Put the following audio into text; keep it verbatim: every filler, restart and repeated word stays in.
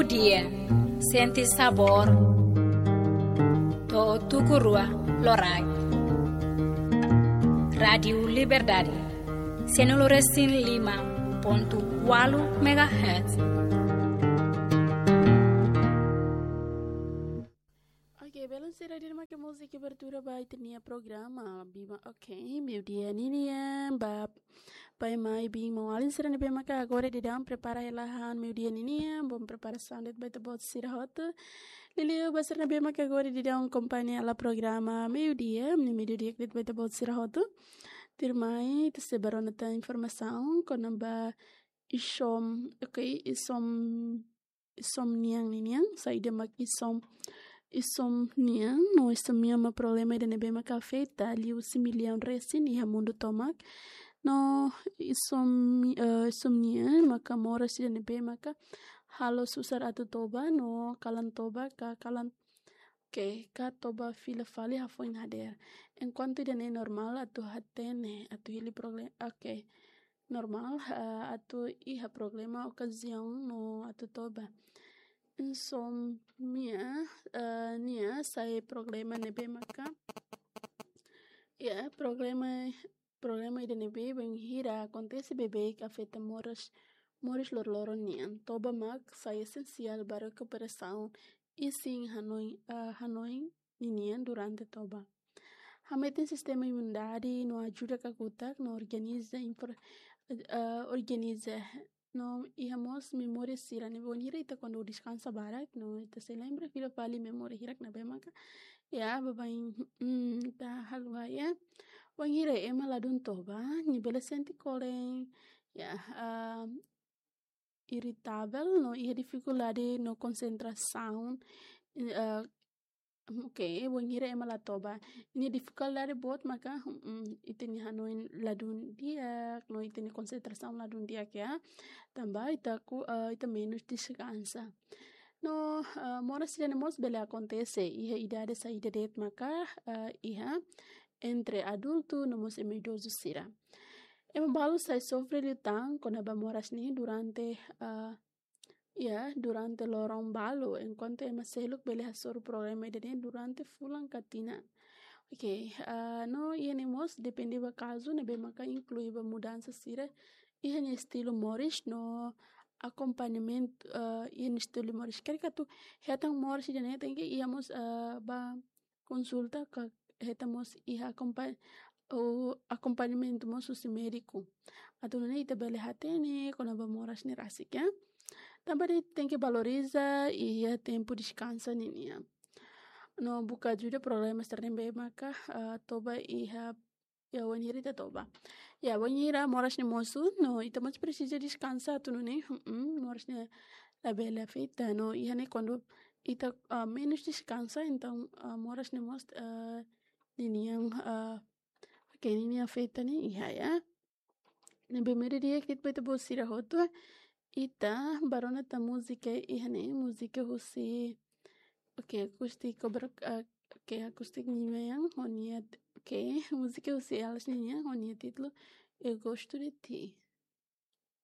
Dia, sente sabór. To'o tuku rua loraik. Rádiu Liberdade, sianulu resin lima pontu ualu megahertz. Oke, belun sira, ida-ne'e mak múzika abertura ba ita-nia programa Biba. Oke, meiudia ninian ba pai, mai, biin, maun-alin sira ne'ebé maka agora daudaun prepara hela han meiudia ninian, bom preparasaun de'it ba ita-boot sira hotu. Liuliu ba sira ne'ebé maka agora daudaun akompaña hela programa Meiudia, ne'e meiudia de'it ba ita-boot sira hotu. Tuirmai, ita sei bá rona tan informasaun kona-ba isom, oke, isom, isom nian ninian, saida mak isom, isom nian, no isom nian mak problema ida ne'ebé maka afeta liu husi millaun resin iha mundu tomak. No isom, eh, isom nian maka moras ida ne'ebé maka halo susar atu toba, no kalan toba ka kalan, oke, ka toba fila fali hafoin hadeer. Enkuantu ida-ne'e normál atu hatene, atu hili problema, oke, normál, eh, atu iha problema okaziaun no atu toba. Insomnia, eh, nia sai problema ne'ebé maka, ya, problema, problema ida ne'ebé bainhira akontese beibeik afeta moras, moris loroloron nian. Toba mak sai esensiál ba rekuperasaun isin hanoin, eh, hanoin ninian durante toba. Hametin sistema imunidade no ajuda kakutak no organiza infor-, eh, organiza no iha mós memória sira ne'ebé wainhira ita kuandu deskansa barak no ita sei lembra fila fali memória hirak ne'ebé maka, ya, baibain, mm, ita haluha, ya. Wainhira ema ladún toba, nia bele sente kolen, ya, ah, iritavel no iha difikuldade no konsentrasaun, eh, oke, wainhira ema la toba. Nia difikuldade boot maka, mm, ita-nia hanoin ladún di'ak, no ita-nia konsentrasaun ladún di'ak, ya. Tanba ita ku, eh, ita menus deskansa. No, eh, moras ida-ne'e mós bele akontese iha idade saida de'it maka, eh, iha entre adultu no mós ema idozu sira. Ema balu sai sofre liután kona-ba moras ne'e durante, eh, ya, durante loron balu, enkuantu ema seluk bele hasoru problema ida-ne'e durante fulan ka tinan. Oke, ah, no iha ne'e mós depende ba kazu ne'ebé maka inklui ba mudansa sira iha nia estilu moris no akompañamentu, ah, iha nia estilu moris. Karik atu hetan moras ida-ne'e tenke iha mós, ah, ba konsulta ka hetan mós iha akompa-, o akompañamentu mós husi médiku. Atu nune'e ita bele hatene kona-ba moras ne'e rasik, ya. Tanba de'it tenke valoriza iha tempu deskansa ninian. No buka ajuda problema sira ne'ebé maka, ah, toba iha, ya, wainhira ita toba. Ya, wainhira moras ne'e mosu, no ita mós presiza deskansa atu nune'e, mm, moras ne'e labele afeta. No iha ne'e kuandu ita, ah, menus deskansa, entaun, ah, moras ne'e mós, ah, ninian, ah, oke, ninian afeta ne'e iha, ya. Ne'ebé meiudia de'it ba ita-boot sira hotu, ita bá rona tan múzika iha ne'e, múzika husi, oke, Acústico Bra-, ah, oke, Acústico nian, ho nia, oke, múzika husi elas nian, ho nia títulu Eu Gosto de Ti.